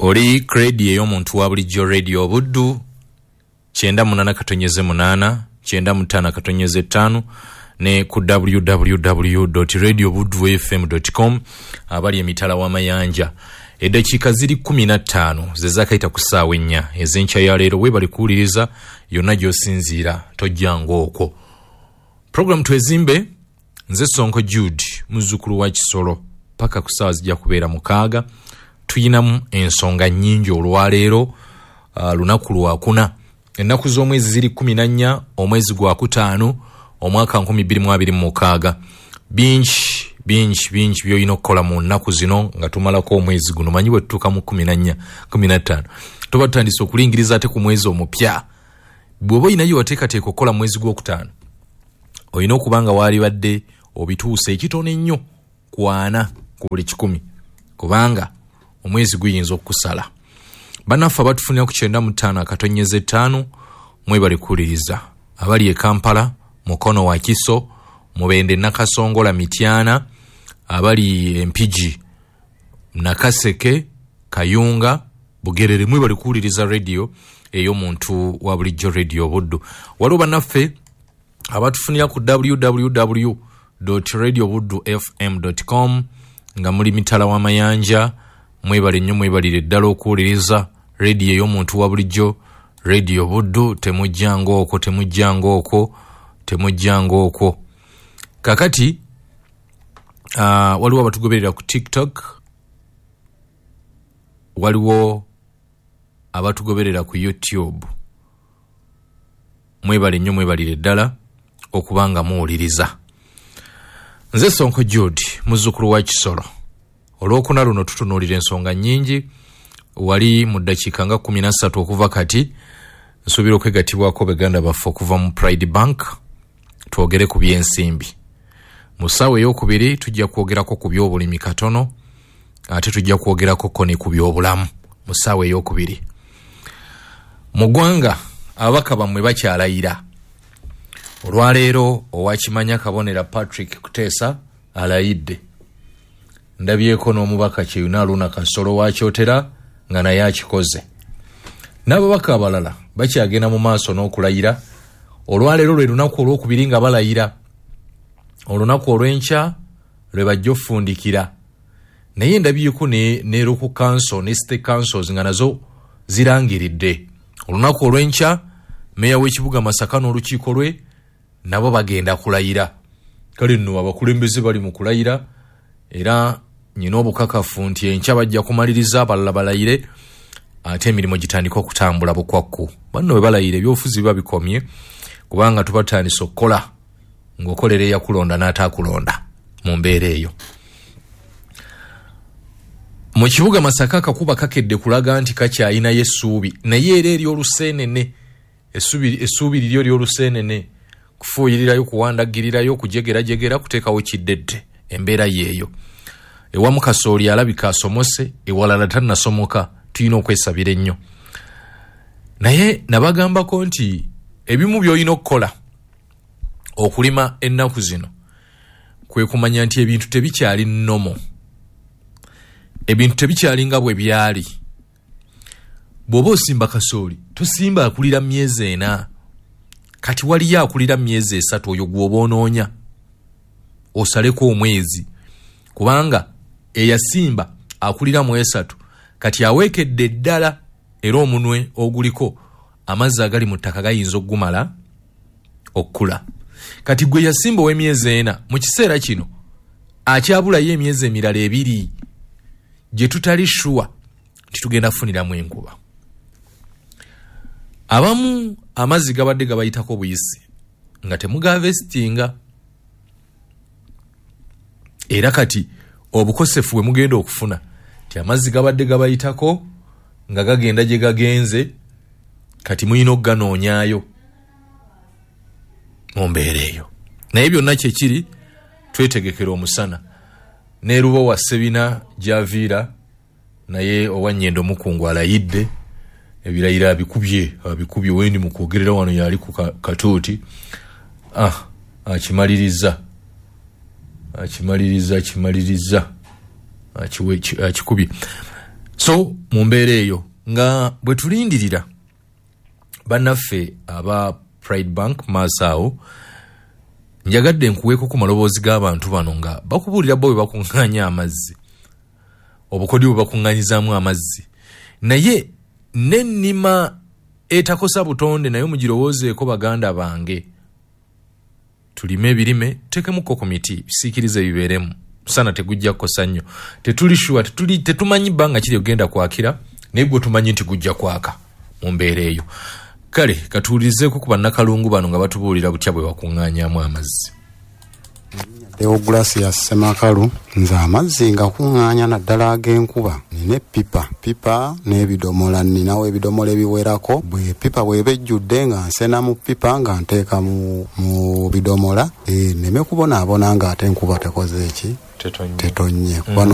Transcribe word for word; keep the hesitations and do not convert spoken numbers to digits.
Oli kredi ey'omuntu wa bulijjo, Radio Buddu, kyenda munana katonyeze munana, kyenda mutana katonyeze ttaano, ne ku w w w radio buddu f m dot com abali emitala w'amayanja. Eddakiika ziri kumi na ttaano ze zaakayita ku ssaawa ennya ez'enkya ya leero. Weebale kuwuliriza yonna gy'osinziira, tojjanga okwo. Program Twezimbe, nze Sonko Jude, muzzukulu wa Kisolo, paka ku ssaawa zijja kubeera mukaaga. Tuyinamu ensonga nnyingi olwaleero. uh, lunaku lwakuna, ennaku z'omwezi ziri kumi na nnya, omwezi gwa kutaano, omwaka nkumi bbiri mu abiri mu mukaaga. Bingi bingi bingi byolina okukola mu nnaku zino nga tumalako omwezi guno. Manyi bwe tutuuka mu kumi na nnya, kumi na ttaano, tuba tutandise okulingiriza ate ku mwezi omupya. Bw'oba olinayo wateekateeka okukola mwezi gwokutaano, olina okuba nga waalibadde obituuse ekitono ennyo ku ana ku buli kikumi, kubanga omwezi guyinza okukusala. Bannaffe abatufunira ku kyenda mu ttaano akatonyeza ttaano, mwebale kuwuliriza. Abali e Kampala, Mukono, Wakiso, Mubende, Nakasongola, Mityana, abali Empigi, Nakaseke, Kayunga, Bugerere, mwebale kuwuliriza radio ey'omuntu wa bulijjo, Radio Buddu. Waliwo bannaffe abatufunira ku w w w radio buddu f m com nga muli mitala w'amayanja, mwebale nnyo, mwebalire ddala okuwuliriza rediyo ey'omuntu wa bulijjo, Radio Buddu. Temujjanga okwo, temujjanga okwo, temujjanga okwo. Kakati uh, waliwo abatugoberera ku TikTok, waliwo abatugoberera ku YouTube. Mwebale nnyo, mwebalire ddala okuba nga muwuliriza. Nze Sonko Jude, muzzukulu wa Kisolo. Olwokuna luno tutunuulira ensonga nnyingi. Wali mu ddakiika nga kumi na ssatu okuva kati nsuubira okwegattibwako baganda baffe okuva mu Pride Bank, twogere ku byensimbi. Mu ssaawa eyokubiri tujja kwogerako ku byobulimi katono, ate tujja kwogerako ko ne ku byobulamu mu ssaawa eyokubiri. Mu ggwanga ababaka bammwe bakyalayira. Olwaleero owakimanya Kabonera Patrick Kuteesa alayidde. Ndabyeko n'omubaka Kyeyuna Aluna Kasolo wakyotera nga naye akikoze, n'ababaka abalala bakyagenda mu maaso n'okulayira. Olwaleero lwe lunaku olwokubiri nga balayira. Olunaku olw'enkya lwe bajja ofundikira. Naye ndabyeko ne, ne local council ne state councils nga nazo zirangiridde olunaku olw'enkya. Meeya w'ekibuga Masaka n'olukiiko lwe nabo bagenda kulayira. Kale nno abakulembeze bali mu kulayira, era nyina obukakafu nti enkya bajja kumaliriza, abalala balayire, ate emirimu gitandika okutambula bukwakku. Banno bwe balayira, ebyobufuzi biba bikomye, kubanga tuba tutandise okukola ng'okolera eyakulonda n'ataakulonda. Mu mbeera eyo, mu kibuga Masaka akakuba kakedde kulaga nti kakyayinayo essuubi, naye era ery'oluseenene, essuubi liryo ly'oluseenene, kufuuyirirayo, kuwandagirirayo, kujegerajegera, kuteekawo kiddedde. Embeera yeeyo. Ewamu kasooli alabika asomose, ewalala tannasomoka. Tulina okwesabira ennyo. Naye nabagambako nti ebimu by'olina okukola okulima ennaku zino kwe kumanya nti ebintu tebikyali nnomo, ebintu tebikyali nga bwe byali. Bw'oba osimba kasooli, tosimba akulira myezi ena. Kati waliyo akulira myezi esatu, oyo gw'oba onoonya osaleko omwezi, kubanga eyasimba akulira mu esatu kati aweekedde ddala, era omunwe oguliko amazzi agali mu ttaka gayinza okugumala okukula. Kati gwe yasimba ow'emyezi ena, mu kiseera kino akyabulayo emyezi emirala ebiri gye tutali sure nti tugenda kufuniramu enkuba. Abamu amazzi gabadde gabayitako buyisi nga temugaharvestinga, era kati obukosefu bwe mugenda okufuna ti amazzi gabadde gabayitako nga gagenda gye gagenze, kati mulina okuganoonyaayo mu mbeera eyo. Naye byonna kyekiri, twetegekera omusana. Neruba wa Sebina gyaviira, naye owanyendo omukungu alayidde, ebirayiro abikubye, abikubye. Wendi mu kwogerera wano yali ku katuuti. Ah, akimaliriza, akimaliriza, akimaliriza, akikubye. So mu mbeera eyo nga bwe tulindirira bannaffe aba Pride Bank maaso awo, njagadde nkuweeko ku maloboozi g'abantu bano nga bakubuulira bo bwe bakuŋŋaanya amazzi, obukodyo bwe bakuŋŋaanyizaamu amazzi, naye n'ennima etakosa butonde naye mugirowoozeeko. Baganda bange, tulime ebirime, tuteekemukko ku miti bisiikirize bibeeremu, musana tegujja kukosa nnyo. Tetuli sure, tetuli tetumanyi bbanga kiri ogenda kwakira, naye gwe tumanyi nti gujja kwaka mu mbeera eyo. Kale katuwulirizeeko ku bannakalungu bano nga batubuulira butya bwe bakuŋŋaanyamu amazzi. Deogratias Ssemakalu. Nze amazzi nga kuŋŋaanya naddala ag'enkuba, nina eppipa pipa n'ebidomola, ninawo ebidomola ebiwerako. Bwe pipa bw'eba ejjudde, nga nsena mu pipa nga nteeka mu, mu bidomola, e, nneme kubonaabona ng'ate enkuba tekoze eki, tetonnye, kuba mm.